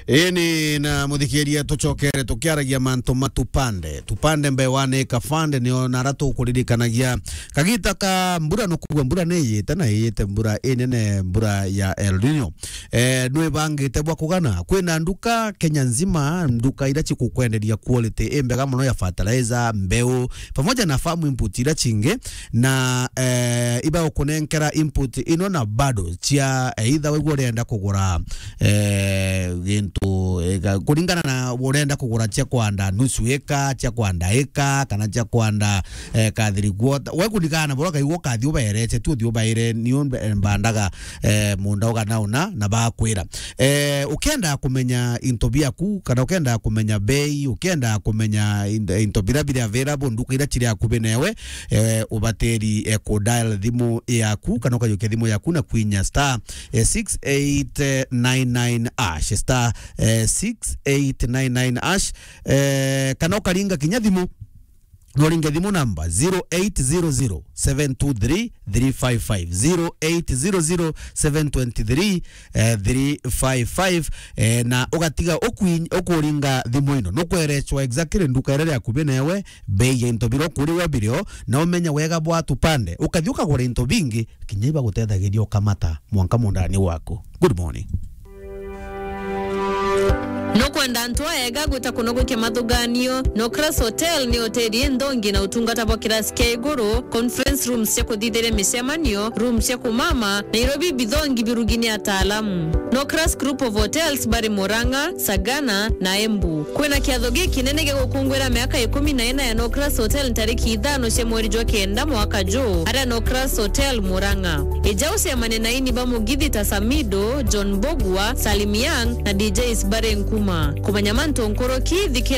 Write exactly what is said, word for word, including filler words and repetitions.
Ini na muthikiria, tucokere tukiaragia mantu ma tupande. Tupande mbewa ni kabande, nio nara tukuririkanagia kagita ka mbura. Nukugua mbura ni iyite na iyite mbura inene, mbura ya El Nino. Eh, nwibangite bwa kugana? Kwina nduka Kenya nzima, nduka iria cikukwenderia quality imbega muno ya fertilizer, mbeu, pamoja na farm input iria cingi, na, eh, ibagukunenkera input ino na bado cia, eh, either wigua urenda kugura, eh, gintu, eh, ga-, kuringana na urenda kugura cia kwanda nusu eka, cia kwanda eka, kana cia kwanda, eh, kathiri quarter. We kuringana na buria ukaigua ukathi ubaerete, tu uthi ubaire, niu mbe-, mbandaga, eh, munda ugana una na bakwira. Eh, ukenda kumenya into biaku, kana ukenda kumenya bei, ukenda kumenya in-, into biria biri available nduka iria ciri akubi newe, eh, ubatiri, eh, ku dial thimu yaku, kana ukajukia thimu yaku na kwinya star, eh, six eight nine nine hash, star, eh, six eight nine nine hash, eh, kana ukaringa kinya thimu, no uringe thimu namba zero eight zero zero seven two three three five five, zero eight zero zero seven two three, eh, three five five, eh, na ugatiga ukwi-, ukuringa thimu ino, nukwerechwa exactly nduka iria iri akubi newe, bei ya into biria ukuria birio, na umenya wega bwa tupande, ukathi ukagura into bingi, kinya ibagutethagiria ukamata mwanka mundani waku. Good morning. Nukwenda antu aega gwita kunogokia mathuganio? Nocras Hotel ni hoteli inthongi na utungata bwa kirasi kia iguru, conference rooms cia kuthithiria micemanio, rooms cia kumama, na irio bi bithongi birugi ni ataalamu. Nocras Group of Hotels bari Murang'a, Sagana na Embu. Kwina kiatho gikinene gia gukunguira miaka ikumi na ina ya Nocras Hotel ntariki ithano cia mweri jwa kenda mwaka juu, aria Nocras Hotel Murang'a. Ija ucemanie na aini ba mugithi ta Samido, John Mbugua, Salim Young na D Js bari Nkuma. Kumenya mantu nkuruki, thikiria